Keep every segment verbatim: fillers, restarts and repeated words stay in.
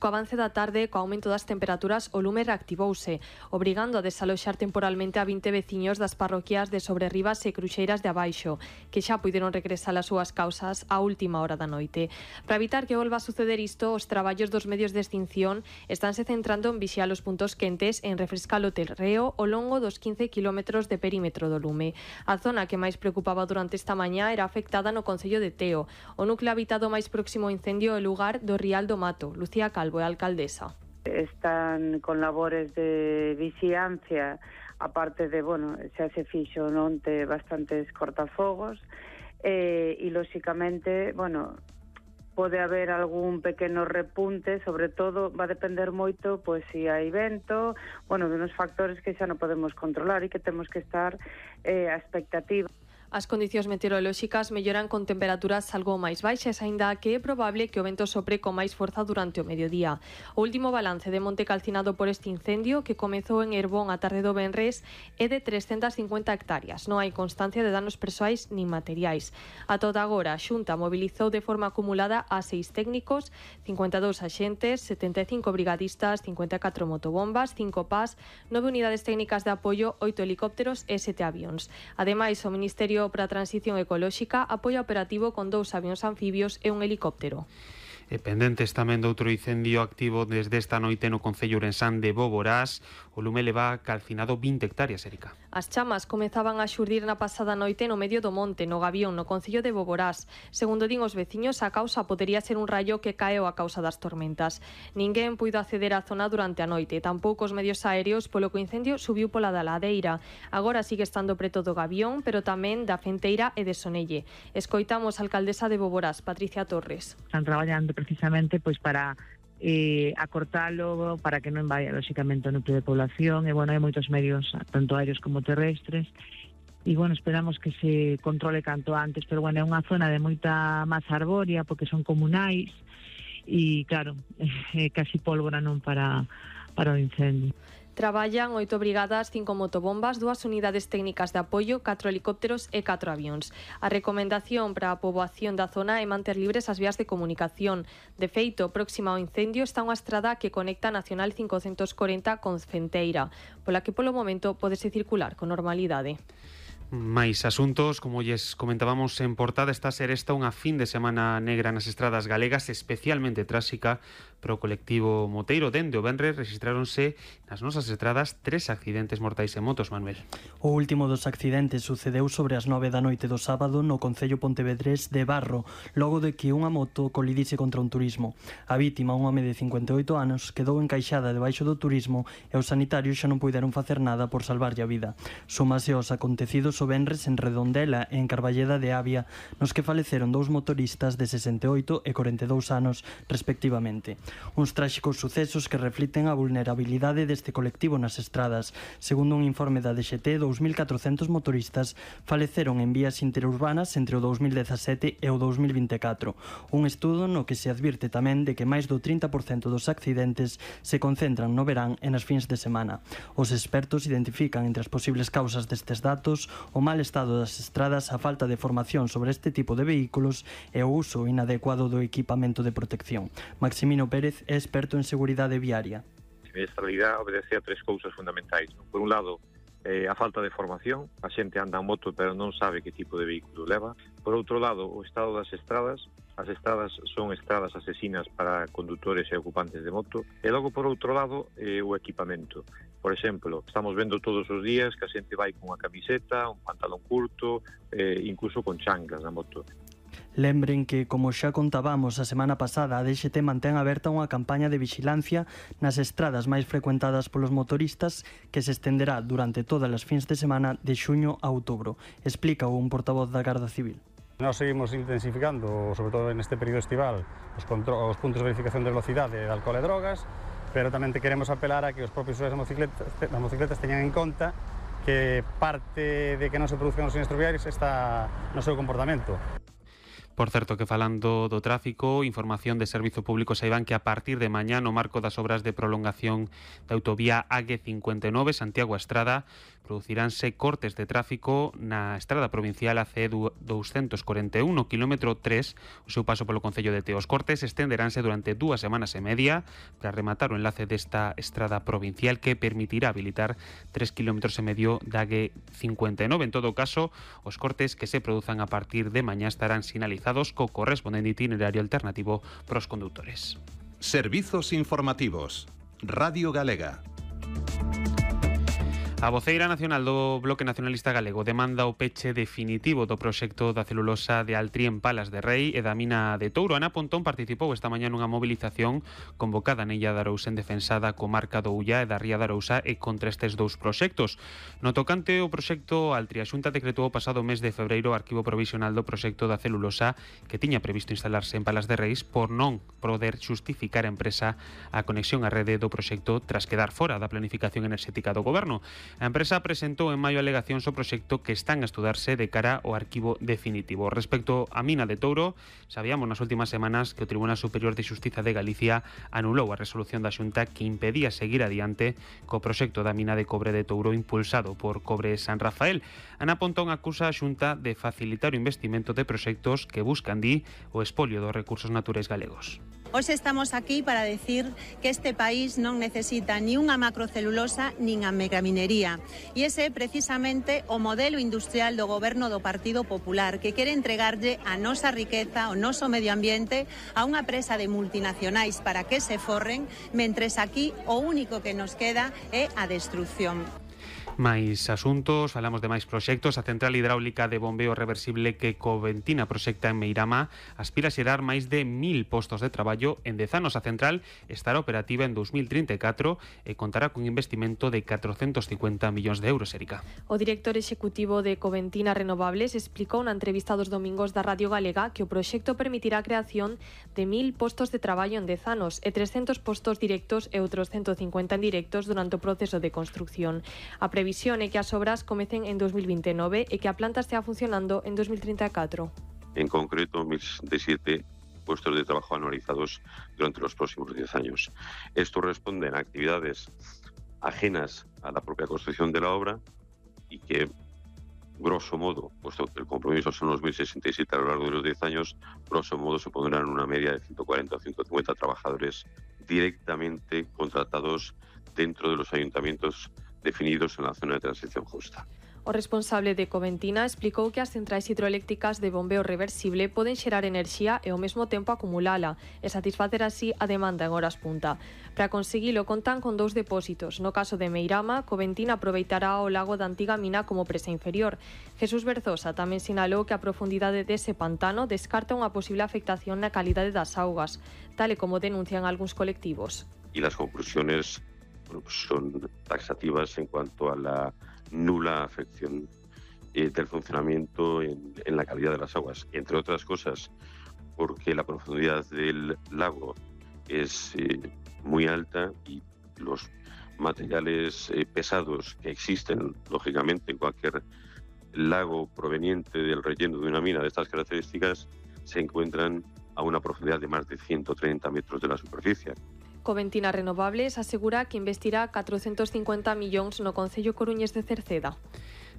Co avance da tarde, co aumento das temperaturas, o lume reactivouse, obrigando a desaloxar temporalmente a vinte veciños das parroquias de Sobrerribas e Cruxeiras de Abaixo, que xa puideron regresar ás súas causas á última hora da noite. Para evitar que volva a suceder isto, os traballos dos medios de extinción estánse centrando en vixiar os puntos quentes e en refrescar o terreo ao longo dos quince kilómetros de perímetro do lume. A zona que máis preocupaba durante esta mañá era afectada no concello de Teo. O núcleo habitado máis próximo ao incendio é o lugar do Rial do Mato. Lucía Calvo, a alcaldesa. Están con labores de vixiancia, aparte de, bueno, xa se fixo onte bastantes cortafogos, e, e lóxicamente, bueno, pode haber algún pequeno repunte, sobre todo va a depender moito, pois, se hai vento, bueno, de uns factores que xa non podemos controlar e que temos que estar eh, a expectativa. As condicións meteorolóxicas melloran con temperaturas algo máis baixas, aínda que é probable que o vento sopre con máis forza durante o mediodía. O último balance de monte calcinado por este incendio, que comezou en Herbón a tarde do venres, é de trescentas cincuenta hectáreas. Non hai constancia de danos persoais nin materiais. A toda agora, a Xunta mobilizou de forma acumulada a seis técnicos, cincuenta e dous axentes, setenta e cinco brigadistas, cincuenta e catro motobombas, cinco P A S, nove unidades técnicas de apoio, oito helicópteros e sete avións. Ademais, o Ministerio para a Transición Ecolóxica apoia operativo con dous avións anfibios e un helicóptero. E pendentes tamén de outro incendio activo desde esta noite no concello ourensán de Boborás, o lume leva calcinado vinte hectáreas, Erika. As chamas comezaban a xurdir na pasada noite no medio do monte, no Gabión, no concello de Boborás. Segundo din os veciños, a causa podería ser un rayo que caeu a causa das tormentas. Ninguén puido acceder á zona durante a noite, tampouco os medios aéreos, polo que o incendio subiu pola da ladeira. Agora sigue estando preto do Gabión, pero tamén da Fenteira e de Sonelle. Escoitamos a alcaldesa de Boborás, Patricia Torres. Están traballando precisamente pois para eh, acortalo, para que non vaya lóxicamente o núcleo de población, e bueno, hai moitos medios, tanto aéreos como terrestres, e bueno, esperamos que se controle canto antes, pero bueno, é unha zona de moita masa arbórea, porque son comunais, e claro, é casi pólvora non para, para o incendio. Traballan oito brigadas, cinco motobombas, dúas unidades técnicas de apoio, catro helicópteros e catro avións. A recomendación para a poboación da zona é manter libres as vías de comunicación. De feito, próxima ao incendio está unha estrada que conecta a Nacional cincocentos corenta con Fenteira, pola que polo momento pódese circular con normalidade. Mais asuntos, como lles comentábamos en portada, está a ser esta unha fin de semana negra nas estradas galegas, especialmente tráxica para o colectivo moteiro. Dende o venres rexistráronse nas nosas estradas tres accidentes mortais en motos, Manuel. O último dos accidentes sucedeu sobre as nove da noite do sábado no concello pontevedrés de Barro, logo de que unha moto colidise contra un turismo. A vítima, un home de cincuenta e oito anos, quedou encaixada debaixo do turismo e os sanitarios xa non puideron facer nada por salvarlle a vida. Súmase aos acontecidos o venres en Redondela e en Carballeda de Avia, nos que faleceron dous motoristas de sesenta e oito e corenta e dous anos, respectivamente. Uns tráxicos sucesos que refliten a vulnerabilidade deste colectivo nas estradas. Segundo un informe da D X T, dous mil catrocentos motoristas faleceron en vías interurbanas entre o dous mil dezasete e o dous mil vinte e catro. Un estudo no que se advirte tamén de que máis do trinta por cento dos accidentes se concentran no verán e nas fins de semana. Os expertos identifican entre as posibles causas destes datos o mal estado das estradas, a falta de formación sobre este tipo de vehículos e o uso inadecuado do equipamento de protección. Maximino Pérez é experto en seguridade viaria. A siniestralidade obedece a tres cousas fundamentais. Por un lado, eh, a falta de formación, a xente anda en moto pero non sabe que tipo de vehículo leva. Por outro lado, o estado das estradas. As estradas son estradas asesinas para condutores e ocupantes de moto. E logo, por outro lado, eh, o equipamento. Por exemplo, estamos vendo todos os días que a xente vai con unha camiseta, un pantalón curto, eh, incluso con chanclas na moto. Lembren que, como xa contábamos a semana pasada, a D X T mantén aberta unha campaña de vixilancia nas estradas máis frecuentadas polos motoristas que se estenderá durante todas as fins de semana de xuño a outubro. Explica un portavoz da Garda Civil. Nós seguimos intensificando, sobre todo neste período estival, os, os puntos de verificación de velocidade de alcohol e drogas, pero tamén te queremos apelar a que os propios usuarios das motocicletas, das motocicletas teñan en conta que parte de que non se produzcan os sinistros viarios está no seu comportamento. Por certo que falando do tráfico, información de Servizo Público saiban que a partir de mañá no marco das obras de prolongación da autovía A G cincuenta e nove Santiago a Estrada produciránse cortes de tráfico na estrada provincial A C doscientos cuarenta e un, no quilómetro tres, o seu paso polo concello de Teo. Os cortes estenderánse durante dúas semanas e media para rematar o enlace desta estrada provincial que permitirá habilitar tres kilómetros e medio da A G cincuenta e nove. En todo caso, os cortes que se produzan a partir de mañá estarán sinalizados co correspondente itinerario alternativo para os condutores. Servizos informativos. Radio Galega. A voceira nacional do Bloque Nacionalista Galego demanda o peche definitivo do proxecto da celulosa de Altri en Palas de Rei e da mina de Touro. Ana Pontón participou esta mañá nunha movilización convocada na Illa de Arousa en defensa da comarca do Ullá e da Ría de Arousa e contra estes dous proxectos. No tocante ao proxecto Altri, a Xunta decretou o pasado mes de febreiro o arquivo provisional do proxecto da celulosa que tiña previsto instalarse en Palas de Reis por non poder xustificar a empresa a conexión á rede do proxecto tras quedar fora da planificación enerxética do goberno. A empresa presentou en maio alegacións ao proxecto que están a estudarse de cara ao arquivo definitivo. Respecto á mina de Touro, sabíamos nas últimas semanas que o Tribunal Superior de Xustiza de Galicia anulou a resolución da Xunta que impedía seguir adiante co proxecto da mina de cobre de Touro impulsado por Cobre San Rafael. Ana Pontón acusa a Xunta de facilitar o investimento de proxectos que buscan, di, o espolio dos recursos naturais galegos. Hoxe estamos aquí para decir que este país non necesita ni unha macrocelulosa nin a megaminería. E ese é precisamente o modelo industrial do goberno do Partido Popular, que quere entregarlle a nosa riqueza, o noso medio ambiente, a unha presa de multinacionais para que se forren, mentres aquí o único que nos queda é a destrucción. Máis asuntos, falamos de máis proxectos. A central hidráulica de bombeo reversible que Coventina proxecta en Meirama aspira a xerar máis de mil postos de traballo en dez anos. A central estará operativa en dos mil trinta e catro e contará cun investimento de catrocentos cincuenta millóns de euros, Erika. O director executivo de Coventina Renovables explicou na entrevista dos domingos da Radio Galega que o proxecto permitirá a creación de mil postos de traballo en dez anos e trescentos postos directos e outros ciento cincuenta indirectos durante o proceso de construcción. A previsión é que as obras comecen en dos mil vinte e nove e que a planta estea funcionando en dos mil trinta e catro. En concreto, mil sesenta y siete puestos de trabajo anualizados durante los próximos diez años. Esto responde a actividades ajenas a la propia construcción de la obra y que, grosso modo, puesto que el compromiso son los mil sesenta y siete a lo largo de los diez años, grosso modo supondrán una media de ciento cuarenta o ciento cincuenta trabajadores directamente contratados dentro de los ayuntamientos definidos en la zona de transición justa. O responsable de Coventina explicou que as centrais hidroeléctricas de bombeo reversible poden xerar enerxía e ao mesmo tempo acumulala e satisfacer así a demanda en horas punta. Para conseguilo contan con dous depósitos. No caso de Meirama, Coventina aproveitará o lago da antiga mina como presa inferior. Jesús Berzosa tamén sinalou que a profundidade dese pantano descarta unha posible afectación na calidade das augas, tal e como denuncian algúns colectivos. Y las conclusiones bueno, pues son taxativas en cuanto a la nula afección eh, del funcionamiento en, en la calidad de las aguas, entre otras cosas porque la profundidad del lago es eh, muy alta y los materiales eh, pesados que existen, lógicamente, en cualquier lago proveniente del relleno de una mina de estas características se encuentran a una profundidad de más de ciento treinta metros de la superficie. Coventina Renovables asegura que investirá catrocentos cincuenta millóns no Concello coruñés de Cerceda.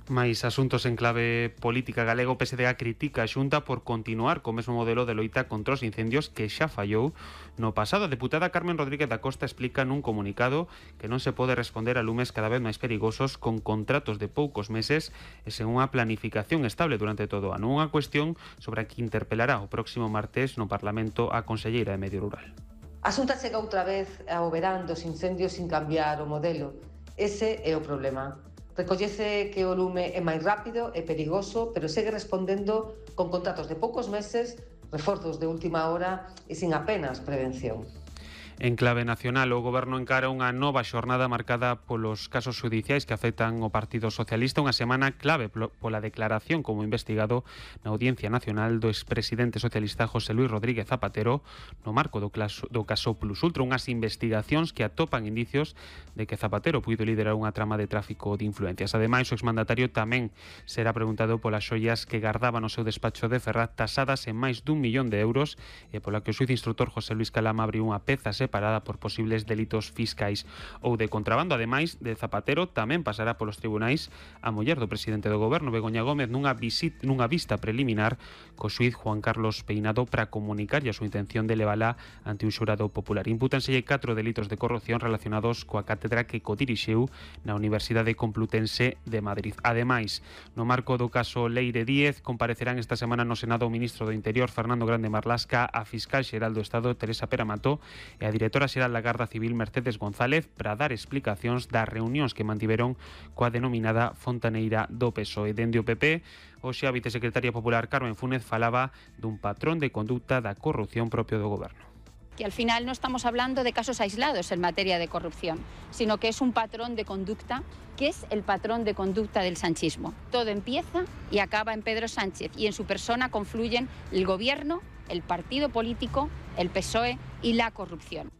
Mais asuntos en clave política galego, P S D A critica a Xunta por continuar co mesmo modelo de loita contra os incendios que xa fallou no pasado. A deputada Carmen Rodríguez da Costa explica nun comunicado que non se pode responder a lumes cada vez máis perigosos con contratos de poucos meses e sen unha planificación estable durante todo o ano. Unha cuestión sobre a que interpelará o próximo martes no Parlamento a conselleira de Medio Rural. A Xunta chega outra vez ao verán dos incendios sin cambiar o modelo. Ese é o problema. Recollece que o lume é máis rápido e perigoso, pero segue respondendo con contratos de poucos meses, reforzos de última hora e sin apenas prevención. En clave nacional, o Goberno encara unha nova xornada marcada polos casos judiciais que afectan o Partido Socialista, unha semana clave pola declaración como investigado na Audiencia Nacional do expresidente socialista José Luis Rodríguez Zapatero no marco do, claso, do caso Plus Ultra, unhas investigacións que atopan indicios de que Zapatero puido liderar unha trama de tráfico de influencias. Ademais, o exmandatario tamén será preguntado polas xoias que gardaba no seu despacho de Ferraz, tasadas en máis dun millón de euros, e pola que o xuiz instructor José Luis Calama abriu unha peza separada por posibles delitos fiscais ou de contrabando. Ademais de Zapatero, tamén pasará polos tribunais a muller do presidente do Goberno, Begoña Gómez, nunha, visit, nunha vista preliminar co xuiz Juan Carlos Peinado para comunicarlle a súa intención de levala ante un xurado popular. Impútanselle catro delitos de corrupción relacionados coa cátedra que codirixiu na Universidade Complutense de Madrid. Ademais, no marco do caso Leire Díez, comparecerán esta semana no Senado o ministro do Interior, Fernando Grande Marlasca, a fiscal xeral do Estado, Teresa Peramato, e a directora xeral da Garda Civil, Mercedes González, para dar explicacións das reunións que mantiveron coa denominada Fontaneira do P S O E. Dende o P P, hoxe a vicesecretaria popular Carmen Fúnez falaba dun patrón de conducta da corrupción propio do Goberno. Que al final no estamos hablando de casos aislados en materia de corrupción, sino que es un patrón de conducta, que es el patrón de conducta del sanchismo. Todo empieza y acaba en Pedro Sánchez, y en su persona confluyen el gobierno, el partido político, el P S O E y la corrupción.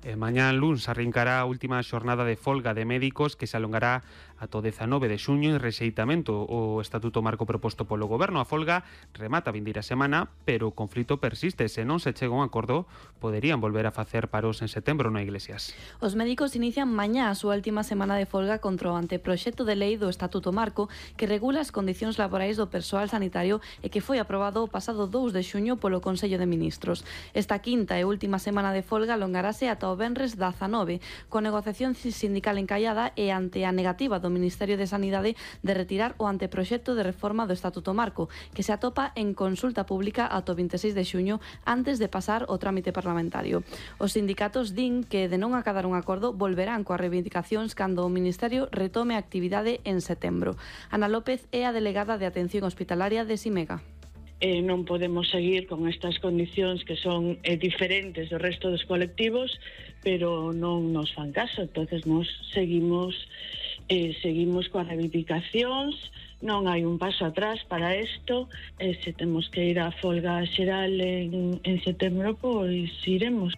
E mañá luns arrincará a última xornada de folga de médicos que se alongará ata o dezanove de xuño en rexeitamento o estatuto marco proposto polo Goberno. A folga remata a vindeira semana, pero o conflito persiste. Se non se chega a un acordo, poderían volver a facer paros en setembro no Iglesias. Os médicos inician mañá a súa última semana de folga contra o anteproxecto de lei do estatuto marco que regula as condicións laborais do persoal sanitario e que foi aprobado o pasado dous de xuño polo Consello de Ministros. Esta quinta e última semana de folga alongarase ata o venres dezanove, con negociación sindical encallada e ante a negativa do Ministerio de Sanidade de retirar o anteproxecto de reforma do Estatuto Marco, que se atopa en consulta pública ata o veintiséis de xuño antes de pasar o trámite parlamentario. Os sindicatos din que de non acadar un acordo volverán coas reivindicacións cando o Ministerio retome a actividade en setembro. Ana López é a delegada de Atención Hospitalaria de Simega. Eh, non podemos seguir con estas condicións que son eh, diferentes do resto dos colectivos, pero non nos fan caso. Entonces nos seguimos eh, seguimos coas reivindicacións, non hai un paso atrás para isto, e se temos que ir á folga xeral en, en setembro, pois iremos.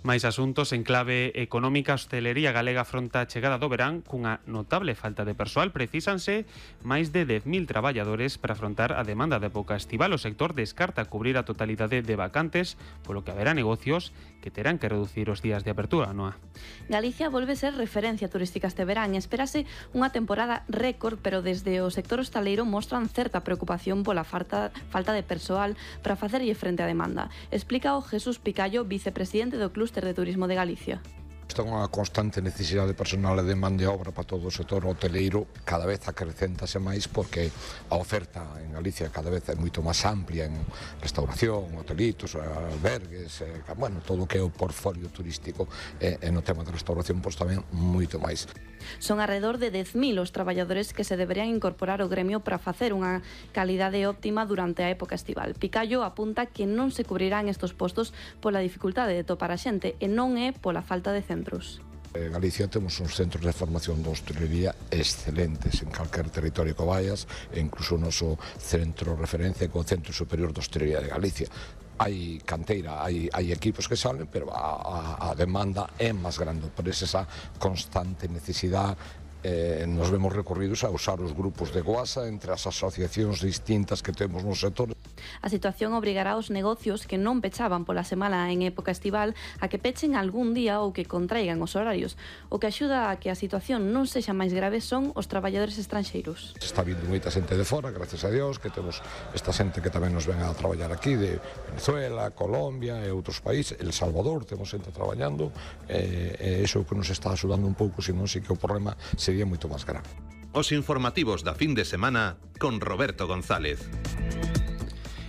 Máis asuntos en clave económica. A hostelería galega afronta a chegada do verán cunha notable falta de persoal. Precísanse máis de dez mil traballadores para afrontar a demanda de época estival. O sector descarta cubrir a totalidade de vacantes, polo que haberá negocios que terán que reducir os días de apertura, Noa. Galicia volve ser referencia turística este verán e espérase unha temporada récord, pero desde o sector hostaleiro mostran certa preocupación pola falta, falta de persoal para facerlle frente á demanda. Explica o Jesús Picallo, vicepresidente do Clúster de Turismo de Galicia. Está unha constante necesidade de personal e de man de obra para todo o sector hoteleiro, cada vez acrecéntase máis porque a oferta en Galicia cada vez é moito máis amplia en restauración, hotelitos, albergues, eh, bueno, todo o que é o portfolio turístico e, e no tema de restauración pois tamén moito máis. Son alrededor de dez mil os traballadores que se deberían incorporar ao gremio para facer unha calidade óptima durante a época estival. Picallo apunta que non se cubrirán estos postos pola dificultade de topar a xente e non é pola falta de centros. En Galicia temos uns centros de formación de hostelería excelentes en calquer territorio que vayas, e incluso o noso centro referencia co Centro Superior de Hostelería de Galicia. Hai canteira, hai, hai equipos que salen, pero a, a, a demanda é máis grande, por esa constante necesidade. Eh, nos vemos recorridos a usar os grupos de Goasa entre as asociacións distintas que temos no sector. A situación obrigará aos negocios que non pechaban pola semana en época estival a que pechen algún día ou que contraigan os horarios. O que axuda a que a situación non sexa máis grave son os traballadores estranxeiros. Se está vindo moita xente de fora, gracias a Dios, que temos esta xente que tamén nos ven a traballar aquí, de Venezuela, Colombia e outros países, El Salvador, temos xente traballando, e, e iso que nos está axudando un pouco, senón si que o problema sería moito máis grave. Os informativos da fin de semana con Roberto González.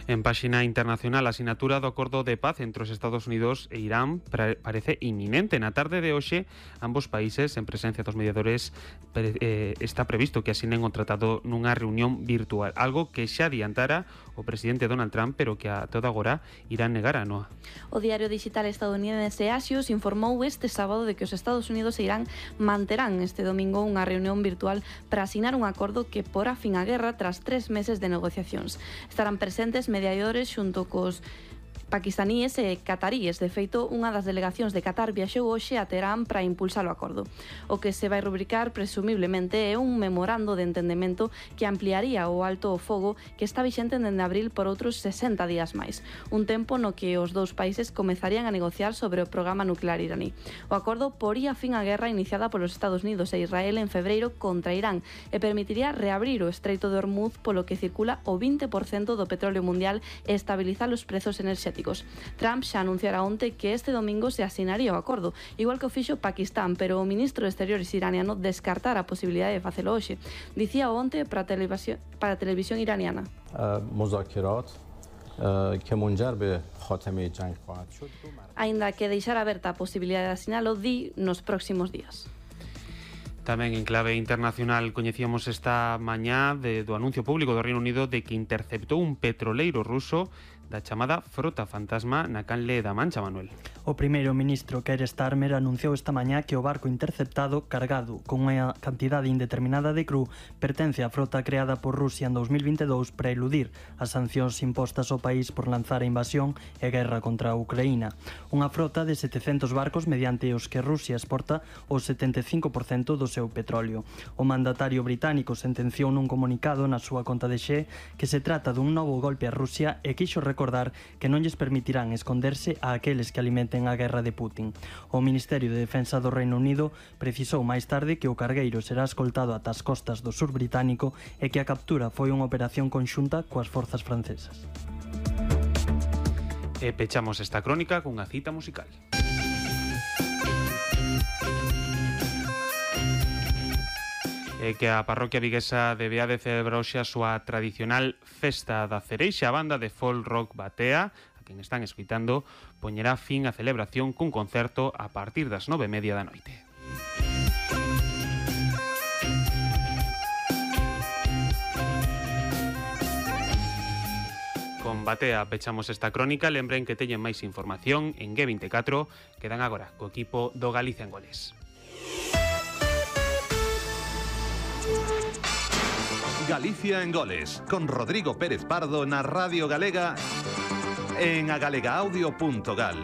En páxina internacional, a asinatura do acordo de paz entre os Estados Unidos e Irán parece inminente. Na tarde de hoxe, ambos países, en presencia dos mediadores, eh, está previsto que asinen o tratado nunha reunión virtual, algo que xa adiantara o presidente Donald Trump, pero que a toda agora Irán negara, Noa. O diario digital estadounidense Axios informou este sábado de que os Estados Unidos e Irán manterán este domingo unha reunión virtual para asinar un acordo que porá fin á guerra tras tres meses de negociacións. Estarán presentes mediadores xunto cos paquistaníes e cataríes. De feito, unha das delegacións de Qatar viaxou hoxe a Teherán para impulsar o acordo. O que se vai rubricar, presumiblemente, é un memorando de entendemento que ampliaría o alto o fogo que está vixente dende abril por outros sesenta días máis. Un tempo no que os dous países comezarían a negociar sobre o programa nuclear iraní. O acordo poría fin á guerra iniciada polos Estados Unidos e Israel en febreiro contra Irán e permitiría reabrir o Estreito de Hormuz, polo que circula o vinte por cento do petróleo mundial e estabilizar os prezos enerxéticos. Trump xa anunciara onte que este domingo se asinaría o acordo, igual que o fixo Pakistán, pero o ministro de Exteriores iraniano descartara a posibilidade de facelo hoxe. Dicía onte para a televisión, para a televisión iraniana. Aínda que deixara aberta a posibilidade de asinalo, di nos próximos días. Tamén en clave internacional coñecíamos esta mañá de, do anuncio público do Reino Unido de que interceptou un petroleiro ruso da chamada frota fantasma na canle da Mancha, Manuel. O primeiro ministro Keir Starmer anunciou esta mañá que o barco interceptado cargado con unha cantidade indeterminada de cru pertence á frota creada por Rusia en dos mil vinte e dous para eludir as sancións impostas ao país por lanzar a invasión e guerra contra a Ucraína. Unha frota de setecentos barcos mediante os que Rusia exporta o setenta e cinco por cento do seu petróleo. O mandatario británico sentenciou nun comunicado na súa conta de Xe que se trata dun novo golpe a Rusia e quixo recordar que non lles permitirán esconderse a aqueles que alimenten a guerra de Putin. O Ministerio de Defensa do Reino Unido precisou máis tarde que o cargueiro será escoltado ata as costas do sur británico e que a captura foi unha operación conxunta coas forzas francesas. E pechamos esta crónica cunha cita musical. É que a parroquia viguesa de Beade celebra hoxe a súa tradicional Festa da Cereixa. A banda de folk rock Batea, a quen están escoitando, poñerá fin á celebración cun concerto a partir das nove e media da noite. Con Batea pechamos esta crónica. Lembren que teñen máis información en G veinticuatro. Quedan agora co equipo do Galicia en Goles. Galicia en Goles, con Rodrigo Pérez Pardo na Radio Galega en agalegaaudio punto gal.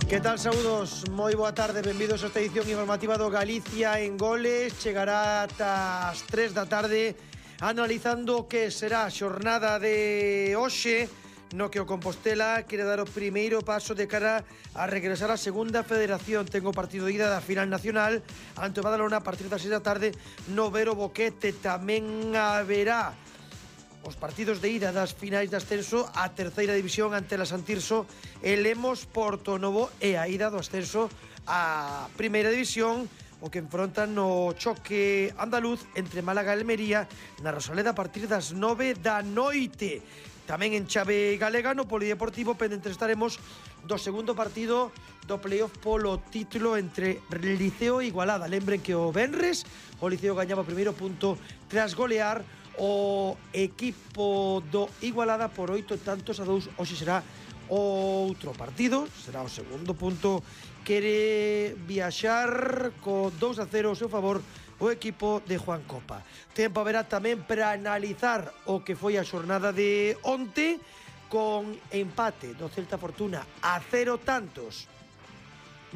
Que tal, saúdos? Moi boa tarde, benvidos a esta edición informativa do Galicia en Goles. Chegará ata as tres da tarde analizando o que será a xornada de hoxe, no que o Compostela quere dar o primeiro paso de cara a regresar á segunda federación. Tengo partido de ida da final nacional ante o Badalona a partir das seis da tarde no Vero Boquete. Tamén haberá os partidos de ida das finais de ascenso a terceira división ante la Santirso e Lemos Porto Novo e a ida do ascenso a primeira división, o que enfrontan no choque andaluz entre Málaga e Almería na Rosaleda a partir das nove da noite. Tamén en chave galega no Polideportivo pendentes estaremos do segundo partido do playoff polo título entre Liceo e Igualada. Lembren que o venres o Liceo gañaba o primeiro punto tras golear o equipo do Igualada por oito tantos a dous. Hoxe será outro partido, será o segundo punto. Quere viaxar co dous a cero ao seu favor o equipo de Juan Copa. Tempo haberá tamén para analizar o que foi a xornada de onte con empate do Celta Fortuna a cero tantos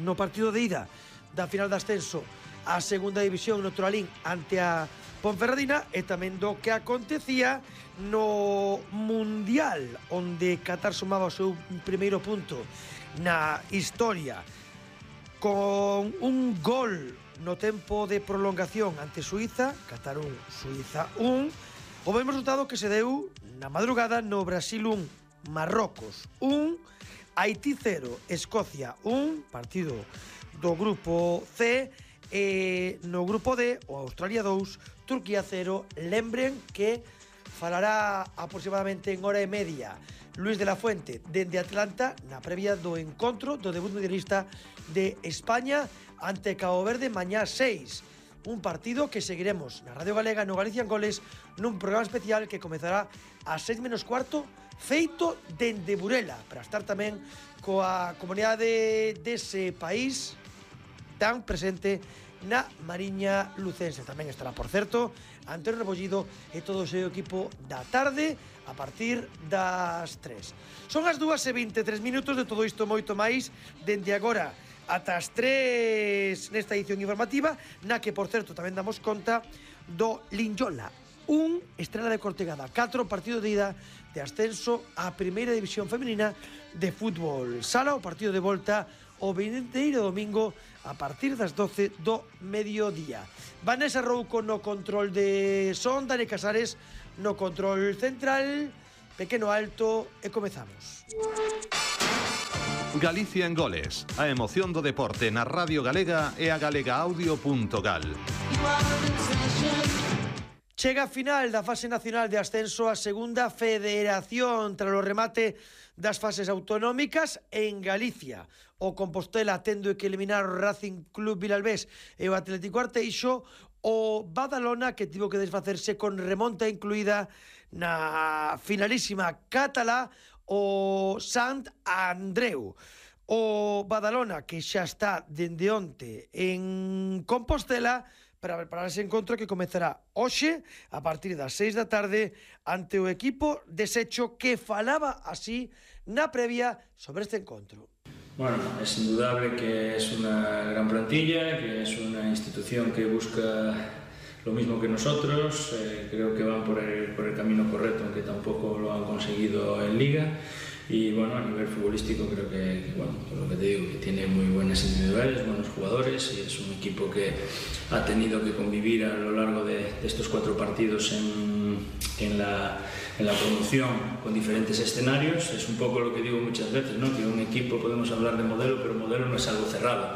no partido de ida da final de ascenso a segunda división no Toralín ante a Ponferradina e tamén do que acontecía no Mundial, onde Qatar sumaba o seu primeiro punto na historia con un gol no tempo de prolongación ante Suiza, Qatar un, Suiza un. O mesmo resultado que se deu na madrugada no Brasil un, Marrocos un, Haití cero, Escocia un, partido do grupo C, e no grupo D, o Australia dous, Turquía cero. Lembren que falará aproximadamente en hora e media Luis de la Fuente dende Atlanta na previa do encontro do debut mundialista de España ante Cabo Verde mañá seis. Un partido que seguiremos na Radio Galega no Galicia en Goles nun programa especial que comezará a seis menos cuarto feito dende Burela para estar tamén coa comunidade dese país tan presente na Mariña Lucense. Tamén estará, por certo, Antonio Rebollido e todo o seu equipo da tarde a partir das tres. Son as dúas e vinte e tres minutos de todo isto moito máis dende agora ata as tres nesta edición informativa na que, por certo, tamén damos conta do Linyola, un estrela de Cortegada, catro partido de ida de ascenso á primeira división femenina de fútbol sala. O partido de volta o vindeiro domingo a partir das doce do mediodía. Vanessa Rouco no control de son, Dani Casares no control central, pequeno alto e comezamos. Galicia en Goles, a emoción do deporte na Radio Galega e a galegaaudio.gal. Chega a final da fase nacional de ascenso a segunda federación tras o remate das fases autonómicas en Galicia. O Compostela tendo que eliminar o Racing Club Vilalbés e o Atlético Arteixo, o Badalona que tivo que desfacerse con remonta incluída na finalísima catalá o Sant Andreu. O Badalona que xa está dende onte en Compostela para preparar ese encontro que comezará hoxe a partir das seis da tarde ante o equipo desecho que falaba así na previa sobre este encontro. Bueno, es indudable que es una gran plantilla, que es una institución que busca lo mismo que nosotros, eh, creo que van por el, por el camino correcto, aunque tampoco lo han conseguido en Liga. Y bueno, a nivel futbolístico creo que, que bueno, lo que te digo, que tiene muy buenas individuales, buenos jugadores y es un equipo que ha tenido que convivir a lo largo de, de estos cuatro partidos en, en, la, en la promoción con diferentes escenarios. Es un poco lo que digo muchas veces, ¿no? Que un equipo podemos hablar de modelo, pero modelo no es algo cerrado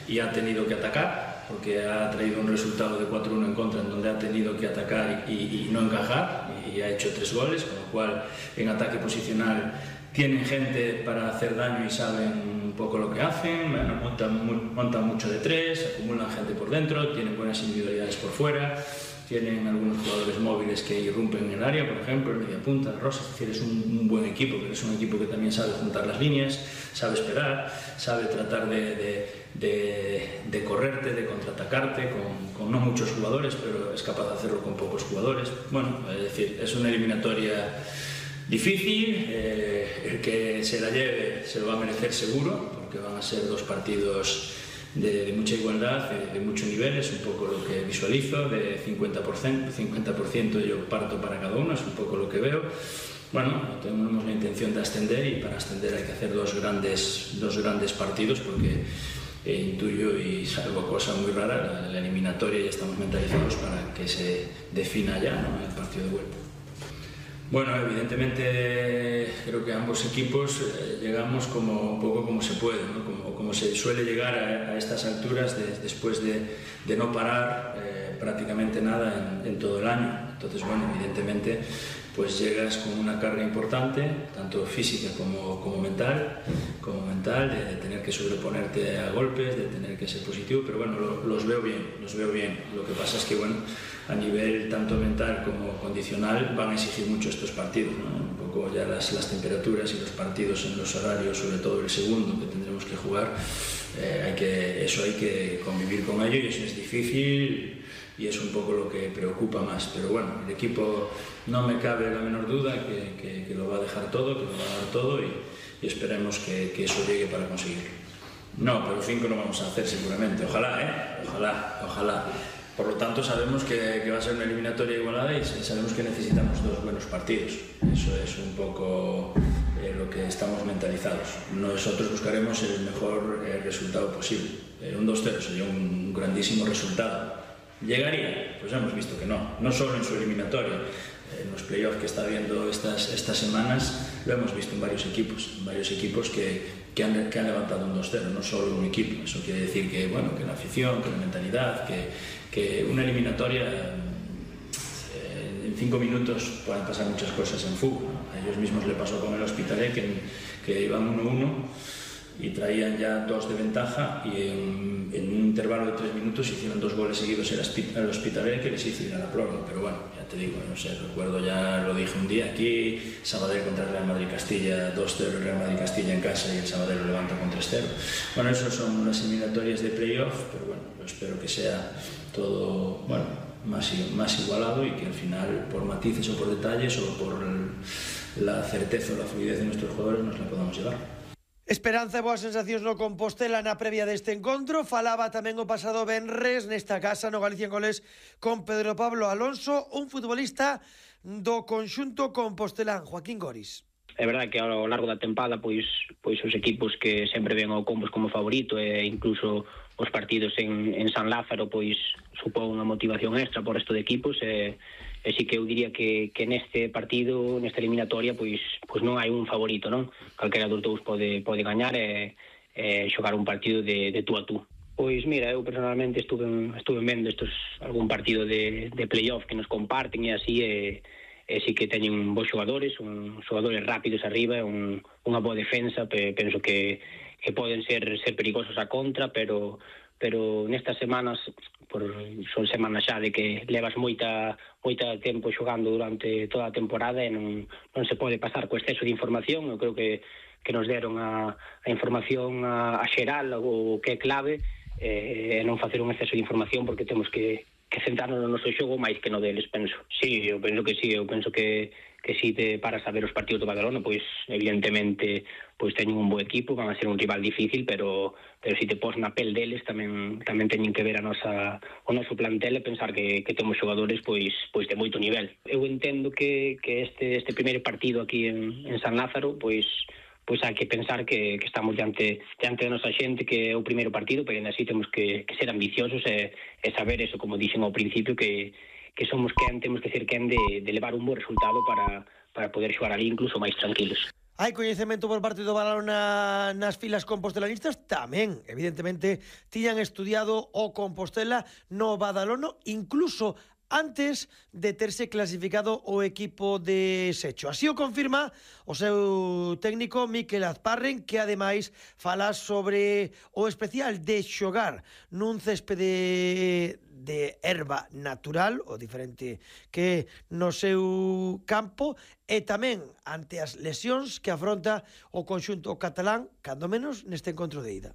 y ha tenido que atacar porque ha traído un resultado de cuatro uno en contra en donde ha tenido que atacar y, y no encajar y ha hecho tres goles, con lo cual en ataque posicional tienen gente para hacer daño y saben un poco lo que hacen, bueno, montan, montan mucho de tres, acumulan gente por dentro, tienen buenas individualidades por fuera, tienen algunos jugadores móviles que irrumpen en el área, por ejemplo, el mediapunta, Rosa, es decir, es un, un buen equipo, pero es un equipo que también sabe juntar las líneas, sabe esperar, sabe tratar de, de, de, de correrte, de contraatacarte con, con no muchos jugadores, pero es capaz de hacerlo con pocos jugadores. Bueno, es decir, es una eliminatoria difícil, eh, el que se la lleve se lo va a merecer seguro, porque van a ser dos partidos de, de mucha igualdad, de, de mucho nivel, es un poco lo que visualizo, de cincuenta por ciento, cincuenta por ciento yo parto para cada uno, es un poco lo que veo. Bueno, tenemos la intención de ascender y para ascender hay que hacer dos grandes, dos grandes partidos porque eh, intuyo y salvo cosa muy rara, la, la eliminatoria ya estamos mentalizados para que se defina ya, ¿no?, el partido de vuelta. Bueno, evidentemente creo que ambos equipos eh, llegamos como un poco como se puede, ¿no? como, como se suele llegar a, a estas alturas de, después de, de no parar eh, prácticamente nada en, en todo el año. Entonces, bueno, evidentemente pues llegas con una carga importante, tanto física como, como mental, como mental de, de tener que sobreponerte a golpes, de tener que ser positivo, pero bueno, lo, los veo bien, los veo bien. Lo que pasa es que, bueno, a nivel tanto mental como condicional van a exigir mucho estos partidos, ¿no? Un poco ya las, las temperaturas y los partidos en los horarios, sobre todo el segundo que tendremos que jugar, eh, hay que, eso hay que convivir con ello y eso es difícil y es un poco lo que preocupa más, pero bueno, el equipo no me cabe la menor duda que, que, que lo va a dejar todo, que lo va a dar todo y, y esperemos que, que eso llegue para conseguirlo. No, pero cinco no vamos a hacer seguramente, ojalá, ¿eh? Ojalá, ojalá. Por lo tanto, sabemos que, que va a ser una eliminatoria igualada y sabemos que necesitamos dos buenos partidos. Eso es un poco eh, lo que estamos mentalizados. Nosotros buscaremos el mejor eh, resultado posible. Eh, un dos cero sería un grandísimo resultado. ¿Llegaría? Pues hemos visto que no. No solo en su eliminatoria. En los playoffs que está viendo estas, estas semanas lo hemos visto en varios equipos. En varios equipos que, que, han, que han levantado un dos cero, no solo un equipo. Eso quiere decir que, bueno, que la afición, que la mentalidad, que... que una eliminatoria, eh, en cinco minutos pueden pasar muchas cosas en fútbol, ¿no? A ellos mismos le pasó con el Hospitalet, que, que iban uno uno y traían ya dos de ventaja, y en, en un intervalo de tres minutos hicieron dos goles seguidos el Hospitalet, que les hizo ir a la prórroga. Pero bueno, ya te digo, no sé, recuerdo, ya lo dije un día aquí, Sabadell contra el Real Madrid-Castilla, dos cero el Real Madrid-Castilla en casa y el Sabadell lo levanta con tres cero. Bueno, esas son las eliminatorias de playoff, pero bueno, yo espero que sea todo, bueno, más, más igualado, y que al final, por matices o por detalles o por el, la certeza o la fluidez de nuestros jugadores, nos la podamos llevar. Esperanza e boas sensacións no Compostela na previa deste encontro. Falaba tamén o pasado venres nesta casa no Galicia en Goles con Pedro Pablo Alonso, un futbolista do conxunto compostelán, Joaquín Goris. É verdade que ao largo da tempada pois pois os equipos que sempre ven ao Compos como favorito, e incluso os partidos en, en San Lázaro pois supón unha motivación extra por resto de equipos, e, e sí que eu diría que, que neste partido, nesta eliminatoria, pois pois non hai un favorito, non? Calquera dos dous pode, pode gañar e, e xogar un partido de, de tú a tú. Pois mira, eu personalmente estuve, estuve vendo estos, algún partido de, de playoff que nos comparten e así, e, e sí que teñen bons xogadores, un, xogadores rápidos arriba, un, unha boa defensa, pe, penso que, que poden ser, ser perigosos a contra, pero pero nestas semanas, por, son semanas xa de que levas moita moita tempo xogando durante toda a temporada e non, non se pode pasar co exceso de información. Eu creo que, que nos deron a, a información a, a xeral, o que é clave, e non facer un exceso de información, porque temos que, que centrarnos no noso xogo máis que no deles, penso. Sí, eu penso que sí, eu penso que que si te paras a ver os partidos do Badalona, pois evidentemente pois teñen un bo equipo, van a ser un rival difícil, pero pero si te pos na pel deles tamén tamén teñen que ver a nosa o noso plantel e pensar que, que temos xogadores pois pois de moito nivel. Eu entendo que, que este este primeiro partido aquí en, en San Lázaro, pois pois hai que pensar que, que estamos diante diante da nosa xente, que é o primeiro partido, pero ainda así temos que, que ser ambiciosos e, e saber eso, como dixen ao principio, que que somos quen, temos que ser quen de, de levar un bo resultado para, para poder xogar ali incluso máis tranquilos. Hai coñecemento por parte do Badalona nas filas compostelanistas? Tamén, evidentemente, tiñan estudiado o Compostela no Badalona, incluso antes de terse clasificado o equipo de Secho. Así o confirma o seu técnico Miquel Azparren, que ademais fala sobre o especial de xogar nun céspede de erva natural, o diferente que no seu campo, e tamén ante as lesións que afronta o conxunto catalán, cando menos neste encontro de ida.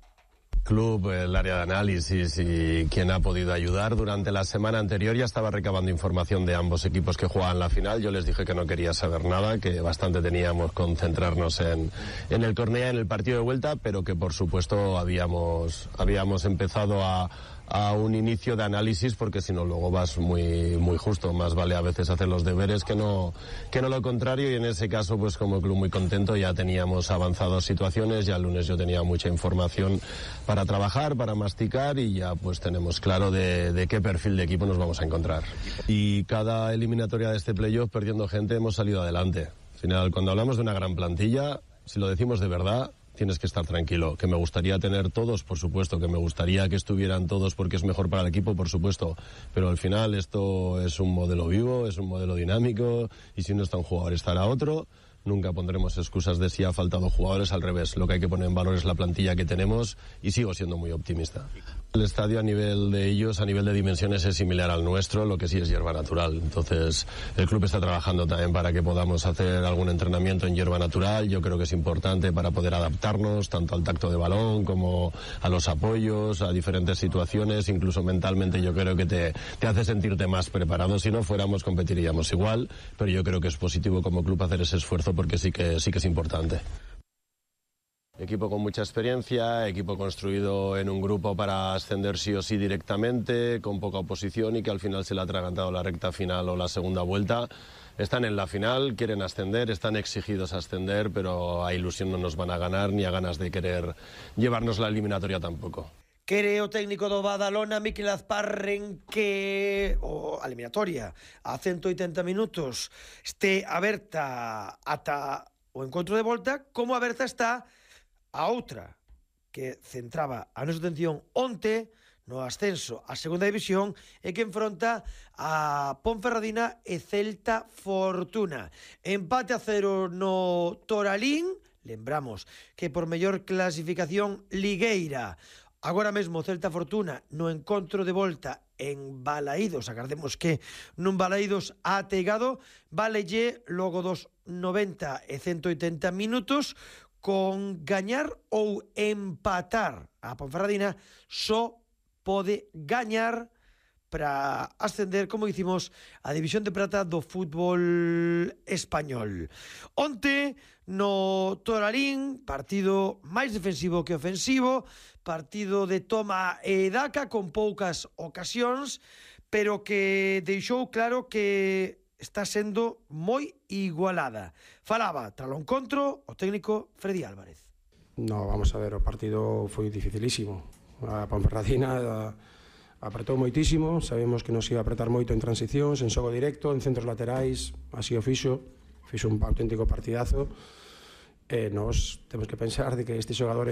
Club, el área de análisis y quien ha podido ayudar. Durante la semana anterior ya estaba recabando información de ambos equipos que jugaban la final. Yo les dije que no quería saber nada, que bastante teníamos que concentrarnos en, en el Cornellá, en el partido de vuelta, pero que por supuesto habíamos, habíamos empezado a a un inicio de análisis, porque si no luego vas muy muy justo. Más vale a veces hacer los deberes que no que no lo contrario, y en ese caso pues como club muy contento. Ya teníamos avanzadas situaciones, ya el lunes yo tenía mucha información para trabajar, para masticar, y ya pues tenemos claro de, de qué perfil de equipo nos vamos a encontrar. Y cada eliminatoria de este playoff, perdiendo gente, hemos salido adelante. Al final, cuando hablamos de una gran plantilla, si lo decimos de verdad, tienes que estar tranquilo. Que me gustaría tener todos, por supuesto, que me gustaría que estuvieran todos porque es mejor para el equipo, por supuesto, pero al final esto es un modelo vivo, es un modelo dinámico, y si no está un jugador estará otro. Nunca pondremos excusas de si ha faltado jugadores, al revés. Lo que hay que poner en valor es la plantilla que tenemos, y sigo siendo muy optimista. El estadio a nivel de ellos, a nivel de dimensiones, es similar al nuestro, lo que sí es hierba natural. Entonces el club está trabajando también para que podamos hacer algún entrenamiento en hierba natural. Yo creo que es importante para poder adaptarnos tanto al tacto de balón como a los apoyos, a diferentes situaciones. Incluso mentalmente yo creo que te, te hace sentirte más preparado. Si no fuéramos, competiríamos igual, pero yo creo que es positivo como club hacer ese esfuerzo, porque sí que, sí que es importante. Equipo con mucha experiencia, equipo construido en un grupo para ascender sí o sí directamente, con poca oposición, y que al final se le ha atragantado la recta final o la segunda vuelta. Están en la final, quieren ascender, están exigidos a ascender, pero a ilusión no nos van a ganar, ni a ganas de querer llevarnos la eliminatoria tampoco. Quere o técnico do Badalona, Miquel Azparren, que o a eliminatoria a ciento oitenta minutos este aberta ata o encontro de volta, como aberta está a outra que centraba a nosa atención onte no ascenso a segunda división e que enfronta a Ponferradina e Celta Fortuna. Empate a cero no Toralín, lembramos que por mellor clasificación ligueira. Agora mesmo Celta Fortuna no encontro de volta en Balaídos, agardemos que nun Balaídos ateigado, valelle logo dos noventa e ciento oitenta minutos con gañar ou empatar. A Ponferradina só pode gañar para ascender, como dicimos, a División de Prata do fútbol español. Onte, no Toralín, partido máis defensivo que ofensivo, partido de toma e daca con poucas ocasións, pero que deixou claro que está sendo moi igualada. Falaba, tras o encontro, o técnico Freddy Álvarez. No, vamos a ver, o partido foi dificilísimo. A Ponferradina apretou moitísimo, sabemos que nos iba a apretar moito en transicións, en xogo directo, en centros laterais, así o fixo, fixo un auténtico partidazo, e nos temos que pensar de que estes xogadores